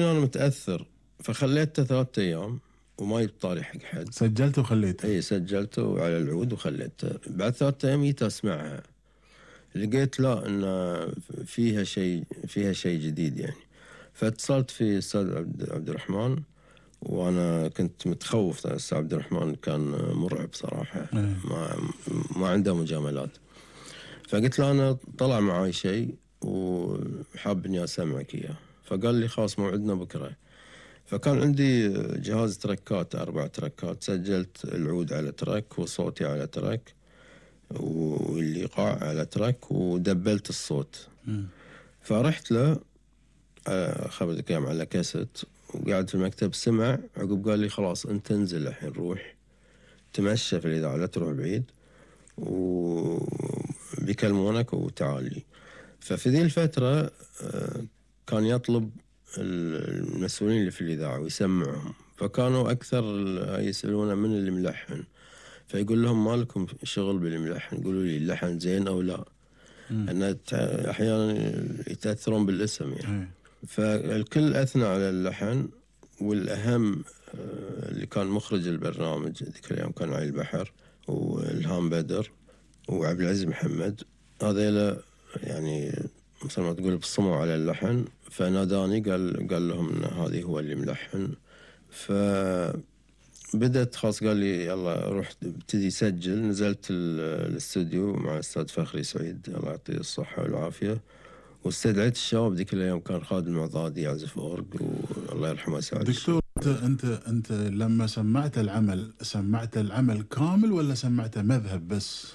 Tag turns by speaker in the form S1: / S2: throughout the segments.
S1: أنا متأثر فخليته 3 أيام وما يبطالي حق حد.
S2: سجلته وخليته؟
S1: اي سجلته على العود وخليته. بعد 3 أيام جيت أسمعها، لقيت لا إن فيها شيء جديد يعني. فاتصلت في أستاذ عبد الرحمن، وأنا كنت متخوف. أستاذ عبد الرحمن كان مرعب صراحة، ما عنده مجاملات. فقلت له أنا طلع معاي شيء وحاب إني أسمعك إياه. فقال لي خلاص موعدنا بكرة. فكان عندي جهاز تركات 4 تركات، سجلت العود على ترك وصوتي على ترك والإيقاع على ترك ودبلت الصوت. فرحت له خبرت كلام على كاسيت وقاعد في المكتب، سمع عقب قال لي خلاص أنت انزل الحين، روح تمشى في الإذاعة لا تروح بعيد وبيكلمونك وتعالي. ففي ذي الفترة كان يطلب المسؤولين اللي في الإذاعة ويسمعهم، فكانوا أكثر يسألونه من اللي ملحن، فيقول لهم ما لكم شغل بالملحن، يقولوا لي اللحن زين أو لا. أن أحيانا يتأثرون بالاسم يعني. فالكل أثنى على اللحن، والأهم اللي كان مخرج البرنامج ذيك الأيام كان علي البحر والهام بدر وعبد العزيز محمد، هذيلا يعني مثل ما تقول بصموا على اللحن. فناداني قال لهم إن هذه هو اللي ملحن. فبدأت خلاص، قال لي يلا روح ابتدي سجل. نزلت الاستوديو مع الأستاذ فخري سعيد الله يعطيه الصحة والعافية، واستدعيت الشباب ذيك الأيام. كان خالد المعضادي يعزف أورج والله يرحمه سعد.
S2: دكتور أنت لما سمعت العمل كامل ولا سمعته مذهب بس؟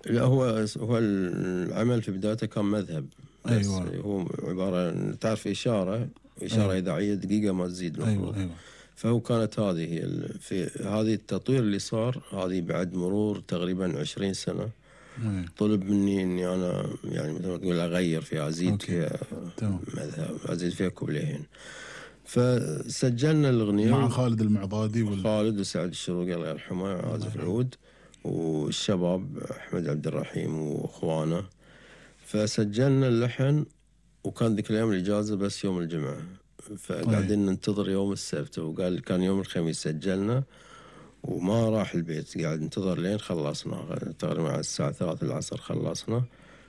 S1: لا، هو العمل في بدايته كان مذهب بس.
S2: أيوة.
S1: هو عبارة تعرف إشارة أيوة. إذاعية دقيقة ما تزيد.
S2: أيوة.
S1: فهو كانت هذه في هذه التطوير اللي صار، هذه بعد مرور تقريبا 20 سنة. طلب مني إني أنا يعني مثل ما تقول أغير فيها، أزيد فيها مذهب، أزيد فيها كوبليهين. فسجلنا الأغنية
S2: مع خالد المعضادي
S1: خالد وسعد الشروقي الله يرحمه عازف العود، والشباب أحمد عبد الرحيم وأخوانه. فسجلنا اللحن، وكان ذيك الأيام الإجازة بس يوم الجمعة، فقاعدين ننتظر يوم السبت. وقال كان يوم الخميس سجلنا وما راح البيت، قاعد ننتظر لين خلصنا تقريبا على الساعة 3 العصر خلصنا.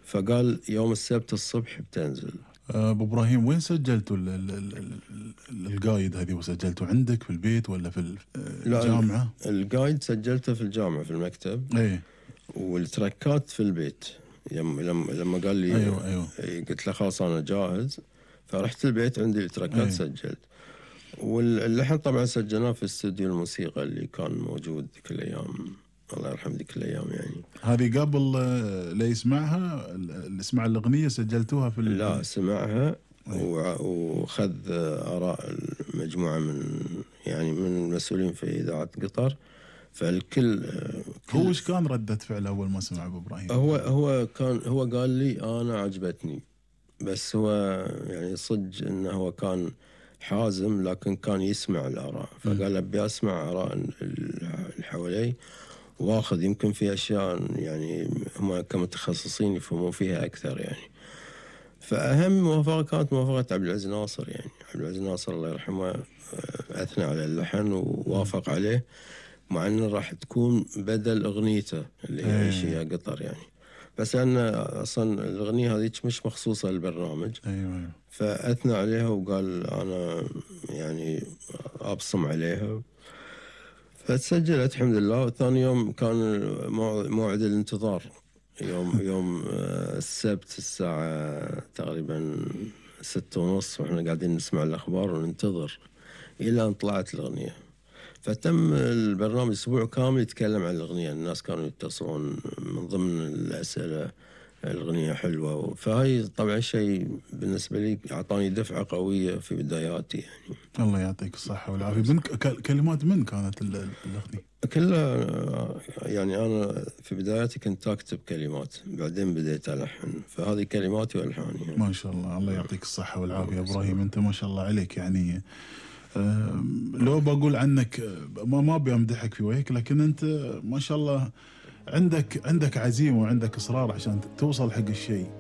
S1: فقال يوم السبت الصبح بتنزل.
S2: أبو إبراهيم وين سجلتوا القايد هذه؟ وسجلتوا عندك في البيت ولا في الجامعة؟
S1: القايد سجلته في الجامعة في المكتب.
S2: ايه.
S1: والتركات في البيت. لما قال لي
S2: أيوة.
S1: قلت له خلاص أنا جاهز، فرحت البيت عندي التركات سجلت. واللحن طبعا سجلناه في استوديو الموسيقى اللي كان موجود ذيك الأيام الله يرحم ذيك الأيام يعني.
S2: هذه قبل لا يسمعها، اللي سمع الأغنية سجلتوها في
S1: لا سمعها وخذ آراء المجموعة من المسؤولين في إذاعة قطر. فالكل
S2: هو ايش كان ردة فعله أول ما سمع أبو إبراهيم؟
S1: هو قال لي أنا عجبتني، بس هو يعني صدق إنه هو كان حازم، لكن كان يسمع الآراء. فقال أبي أسمع آراء اللي حوالي واخذ، يمكن في أشياء يعني هم كمتخصصين يفهمون فيها أكثر يعني. فأهم موافقة كانت موافقة عبد العزيز ناصر يعني. عبد العزيز ناصر الله يرحمه أثنى على اللحن ووافق عليه، مع أنه راح تكون بدل أغنيته اللي هي عيشيها قطر يعني. بس أن أصلا الأغنية هذه مش مخصوصة للبرنامج.
S2: أيوة.
S1: فأثنى عليها وقال أنا يعني أبصم عليها. فتسجلت الحمد لله. وثاني يوم كان موعد الانتظار، يوم السبت الساعة تقريبا 6:30، وإحنا قاعدين نسمع الأخبار وننتظر إلى أن طلعت الأغنية. فتم البرنامج أسبوع كامل يتكلم عن الأغنية. الناس كانوا يتصلون من ضمن الأسئلة الأغنية حلوة. فهاي طبعا شيء بالنسبة لي أعطاني دفعة قوية في بداياتي يعني.
S2: الله يعطيك الصحة والعافية. كلمات من كانت الأغنية؟
S1: كلها يعني أنا في بداياتي كنت أكتب كلمات، بعدين بديت ألحن. فهذه كلماتي وألحاني يعني.
S2: ما شاء الله. الله يعطيك الصحة والعافية إبراهيم. أنت ما شاء الله عليك يعني. لو بقول عنك ما بيمدحك في وجهك، لكن أنت ما شاء الله عندك عزيمة وعندك إصرار عشان توصل حق الشيء.